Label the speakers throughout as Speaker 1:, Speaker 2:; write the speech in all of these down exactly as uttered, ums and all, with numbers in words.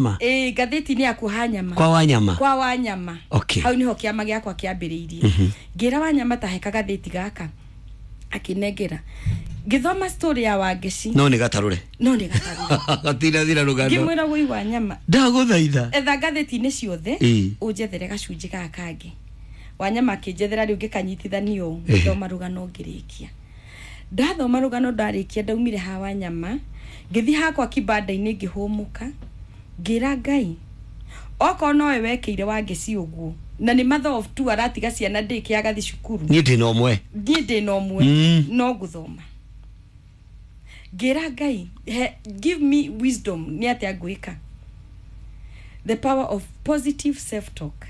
Speaker 1: Ĩ, ngathĩti-inĩ ya kuoha nyama.
Speaker 2: Kwa Wanyama.
Speaker 1: Kwa Wanyama.
Speaker 2: Okay.
Speaker 1: Hau niho kĩama gĩakwa kĩambĩrĩirie. Ngĩra Wanyama tahe kagathĩti gaka, akĩnengera, ngĩthoma story ya Wangeci.
Speaker 2: No nĩ gatarũre.
Speaker 1: No nĩ gatarũre.
Speaker 2: Gatirathira rũgano.
Speaker 1: Ngĩmwĩra, "Wũi Wanyama,
Speaker 2: Ndagũthaitha,
Speaker 1: etha ngathĩti-inĩ ciothe,
Speaker 2: Ĩ.
Speaker 1: ũnjethere gacunjĩ gaka kangĩ." Wanyama akĩnjethera. Rĩu ngĩkanyitithanio ũũ,
Speaker 2: Ehe.
Speaker 1: ngĩthoma rũgano, ngĩrĩkia. Ndathoma rũgano ndarĩkia, ndaumire ha Wanyama, ngĩthiĩ hakwa kibanda-inĩ, ngĩhũmũka, ngĩra Ngai, okorwo nowe wekĩire Wangeci ũguo, na nĩ mother of two, aratiga ciana ndĩke agathi cukuru.
Speaker 2: Niĩ ndĩ na ũmwe.
Speaker 1: Niĩ ndĩ na ũmwe.
Speaker 2: Mm.
Speaker 1: No ngũthoma. Ngĩra Ngai, he, give me wisdom nĩ atĩa ngwĩka. The power of positive self talk.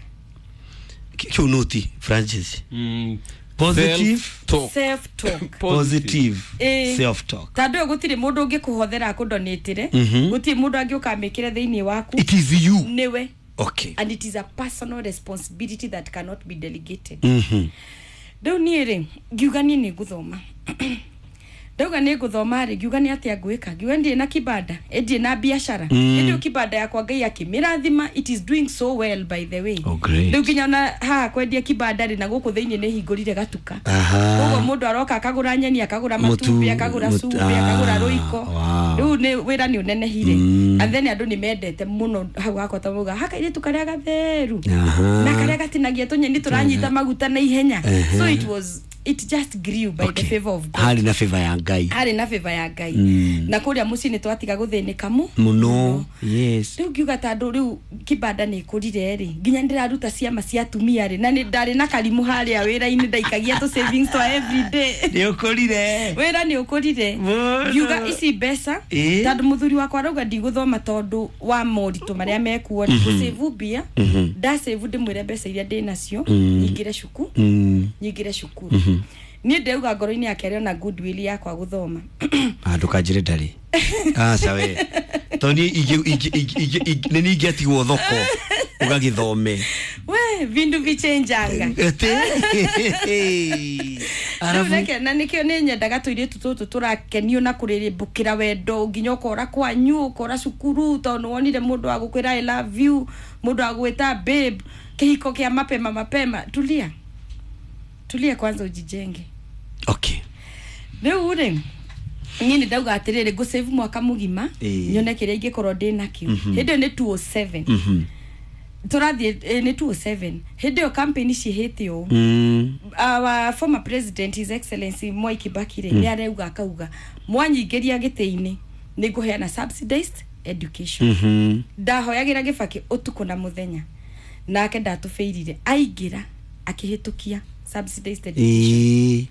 Speaker 2: Kĩu nũti, Francis.
Speaker 3: Mm.
Speaker 2: Positive
Speaker 3: Self-talk.
Speaker 1: Self talk.
Speaker 2: Positive
Speaker 1: Ĩ.
Speaker 2: self talk.
Speaker 1: Tondũ ũyũ gũtirĩ mũndũ ũngĩkũhothera akũndonĩtĩre.
Speaker 2: Mhm.
Speaker 1: Gũtirĩ mũndũ angĩũka amĩkĩre thĩinĩ waku.
Speaker 2: It is you.
Speaker 1: Nĩwe.
Speaker 2: Okay
Speaker 1: and it is a personal responsibility that cannot be delegated.
Speaker 2: Mhm.
Speaker 1: Rĩu niĩ rĩ, ngiuga niĩ nĩ ngũthoma. Ndauga nĩ ngũthoma rĩ, ngiuga nĩ atĩa ngwĩka? Ngiuga ndirĩ na kibanda, ĩ ndirĩ na biacara.
Speaker 2: Mm.
Speaker 1: Ĩndĩ ĩyo kibanda yakwa Ngai akĩmĩrathima, it is doing so well, by the way.
Speaker 2: Oh, great.
Speaker 1: Rĩu nginya ona haha kwendia kibanda rĩ, na gũkũ thĩinĩ nĩ hingũrire gatuka.
Speaker 2: Aha.
Speaker 1: Koguo mũndũ aroka akagũra nyeni, akagũra
Speaker 2: Mũtu,
Speaker 1: matumbĩ, akagũra
Speaker 2: mũtu-
Speaker 1: cumbĩ, akagũra
Speaker 2: ah,
Speaker 1: rũiko.
Speaker 2: wow.
Speaker 1: Rĩu nĩ wĩra nĩ ũnenehire.
Speaker 2: Mm.
Speaker 1: And then andũ nĩ mendete mũno hau hakwa ta mauga hakairĩtu karĩa gatheru
Speaker 2: Aha.
Speaker 1: na karĩa gatinagia tũnyeni tũranyita maguta na ihenya.
Speaker 2: Ehe.
Speaker 1: So it was it just grew by
Speaker 2: Okay.
Speaker 1: the favor of God.
Speaker 2: Harĩ na favor ya Ngai.
Speaker 1: Harĩ na favor ya Ngai.
Speaker 2: Mm.
Speaker 1: Na kũrĩa mũciĩ nĩ twatiga gũthĩnĩka mu
Speaker 2: Mũno, yes.
Speaker 1: Rĩu ngiuga tondũ rĩu kibanda nĩ ĩkũrire rĩ, nginya ndĩraruta ciama cia atumia rĩ, na nĩ ndarĩ na karimũ harĩa wĩra-inĩ ndaikagia tũ savings twa everyday.
Speaker 2: Nĩ ũkũrire.
Speaker 1: Wĩra nĩ ũkũrire.
Speaker 2: Mũno.
Speaker 1: Ngiuga ici mbeca,
Speaker 2: Ĩ.
Speaker 1: tondũ mũthuri wakwa arauga ndigũthoma tondũ wa moritũ marĩa mekuo rĩ, gũcĩvu mbia. Ndacĩvu, ndĩmwĩre mbeca iria ndĩ nacio nyingĩre cuku
Speaker 2: Mm.
Speaker 1: nyingĩre cukuru. Niĩ ndĩrauga ngoro-inĩ yake arĩ ona goodwill yakwa gũthoma.
Speaker 2: Ah, ndũkanjĩre ndarĩ, aca we, tondũ niĩ ingĩ- ingĩ- ingĩ- ingĩ- ingĩ- nĩ niĩ ingĩatigwo thoko ũgagĩthome.
Speaker 1: We, vindu vichenjanga.
Speaker 2: Ĩtĩ.
Speaker 1: Rĩu
Speaker 2: Arabu
Speaker 1: reke, na nĩkĩo nĩ nyendaga tũirĩtu tũtũ tũrakenio na kũrĩrĩmbũkĩra wendo nginya ũkora kwanyu, ũkora cukuru, tondũ nĩwonire mũndũ wa gũkwĩra "I love you", mũndũ wa gwĩta "babe", kĩhiko kĩa mapema mapema. Tulia, tulia kwanza, ujijenge.
Speaker 2: Okay
Speaker 1: Rĩu rĩ, niĩ nĩ ndauga atĩrĩrĩ, ngũsave mwaka mũgima,
Speaker 2: Ĩĩ.
Speaker 1: nyone kĩrĩa ingĩkorwo ndĩ nakĩo. Hĩndĩ ĩyo nĩ two oh seven.
Speaker 2: Mhm.
Speaker 1: Tũrathiĩ, eh, nĩ two oh seven. Hĩndĩ ĩyo campaign ciĩhĩte ũũ.
Speaker 2: Mm.
Speaker 1: Our former president, His Excellency Mwai Kibaki rĩ, nĩ arauga, akauga, "Mwanyingĩria gĩtĩ-inĩ, nĩ ngũheana subsidized education."
Speaker 2: Mhm.
Speaker 1: Ndahoyagĩra Gĩbakĩ ũtukũ na mũthenya, nake ndatũbĩirire, aingĩra akĩhĩtũkia subsidized education.
Speaker 2: Ĩĩ.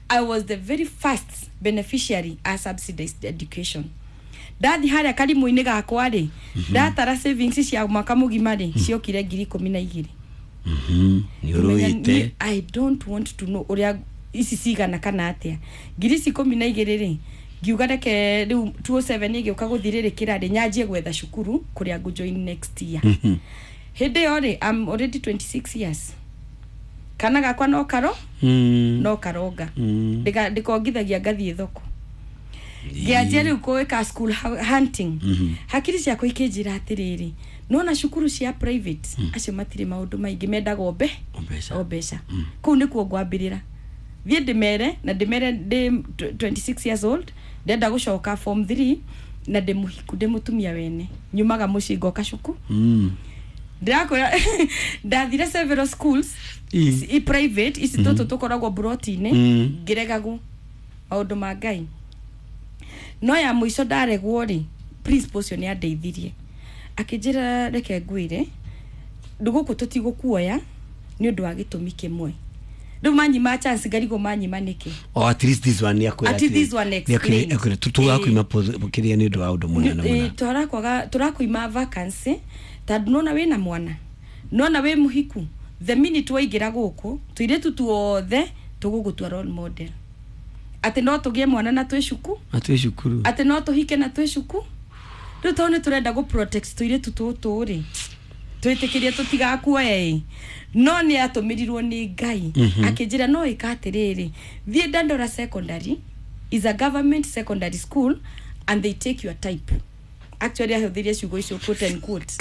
Speaker 1: I was the very first beneficiary a subsidized education. Ndathi harĩa karimũ-inĩ gakwa rĩ, ndatara savings cia mwaka mũgima rĩ, ciokire ngiri ikũmi na igĩrĩ.
Speaker 2: Mhm. Nĩ
Speaker 1: Ngĩmenya
Speaker 2: ũrũĩte.
Speaker 1: niĩ, I don't want to know ũrĩa ici cigana kana atĩa, ngiri ici ikũmi na igĩrĩ rĩ. Ngiuga reke rĩu two oh seven ĩgĩũka gũthirĩrĩkĩra rĩ, nyanjie gwetha cukuru kũrĩa ngũjoin next year. Hĩndĩ ĩyo rĩ, I'm already twenty-six years, kana gakwa no karo
Speaker 2: Mm.
Speaker 1: no karonga.
Speaker 2: Mm.
Speaker 1: Ndĩka- ndĩkongithagia ngathiĩ thoko, ngĩanjia rĩu kũĩka school hu- hunting. Hakiri ciakwa ikĩnjĩra atĩrĩrĩ, nona cukuru cia private acio matirĩ maũndũ maingĩ, mendaga o mbe
Speaker 2: O mbeca.
Speaker 1: O mbeca. Kũu nĩkuo ngwambĩrĩra, thiĩ ndĩmere na ndĩmere ndĩ twenty-six years old, ndenda gũcoka form three, na ndĩ mũhiku, ndĩ mũtumia wene, nyumaga mũciĩ ngoka cuku.
Speaker 2: Mm.
Speaker 1: Ndĩrakwĩra, ndathire several schools
Speaker 2: Ĩ.
Speaker 1: i private ici tũtũ tũkoragwo mburoti-inĩ.
Speaker 2: Mm.
Speaker 1: Ngĩregagwo, maũndũ ma Ngai. No ya mũico ndaregwo rĩ, principal ũcio nĩ andeithirie, akĩnjĩra, "Reke ngwĩre, gũkũ tũtigũkuoya nĩ ũndũ wa gĩtũmi kĩmwe." Rĩu manyima chance, ngarigwo manyima nĩkĩ.
Speaker 2: Oh, at least this one nĩ akwĩra.
Speaker 1: At least this one explained.
Speaker 2: Tũgakwima kĩrĩa nĩ ũndũ wa ũndũ mũna na
Speaker 1: Ĩ,
Speaker 2: mũna.
Speaker 1: Tũrakwaga, tũrakwima vacancy tondũ nona wĩna mwana, nona wĩ mũhiku. The minute waingĩra gũkũ, tũirĩtu tuothe tũgũgũtua role model atĩ no tũgĩe mwana na twĩ cuku,
Speaker 2: Na twĩ cukuru.
Speaker 1: Atĩ no tũhike na twĩ cuku. Rĩu tondũ nĩ tũrenda gũ protect tũirĩtu tũtũ rĩ, twĩtĩkĩrie tũtigakuoya. Ĩ, no nĩ atũmĩrirwo nĩ Ngai, akĩnjĩra, "No ĩka atĩrĩrĩ, thiĩ Dandora Secondary, is a government secondary school and they take your type." Actually ahũthĩrie ciugo icio, quote and quote.